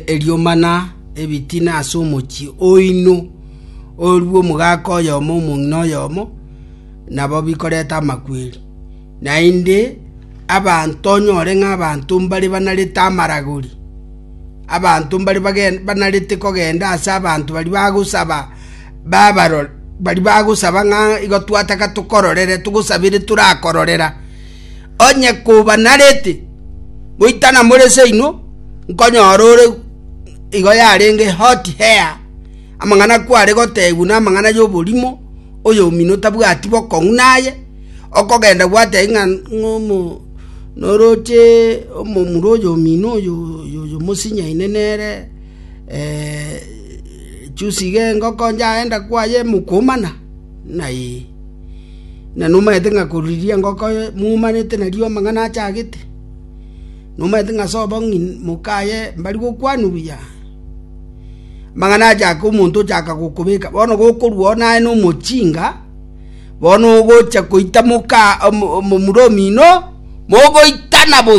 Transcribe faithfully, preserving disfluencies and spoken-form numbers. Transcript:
Eriomana ebitina ase omochie oino, orue omogaka oyomo omong'ina oyomo, nabo bikoreta amakweri. Naende abanto onyore ng'a abanto mbare banarete amaragori, abanto mbare bagen banarete kogenda ase abanto baria bagosaba babarora baria bagosaba ng'a igo twataka tokororere togosabere torakororera. Onye kobanarete, goitana more seino, nkonyora ore igo yarenge hot hair, amang'ana kware gotebwa na amang'ana ya oborimo, oyomino tabwati bokong'u naye, okogenda gwatebia ng'a ng'a omo noroche omomura oyo omino oyo oyo oyo mosinyaine nere juzi iga engoko njaenda kwaye mokomana, ng'a eh. Na nomanyete ng'a korwa riria engoko mwomanete nario amang'ana achagete, nomanyete ng'a sobo ng'ina mokaye mbari gokwanwa buya, amang'ana achaka omonto ochaka gokobeka, bono gokorwa oo naye na omochinga, bono ogocha koita moka omo omomura omino, mogoitana bosa.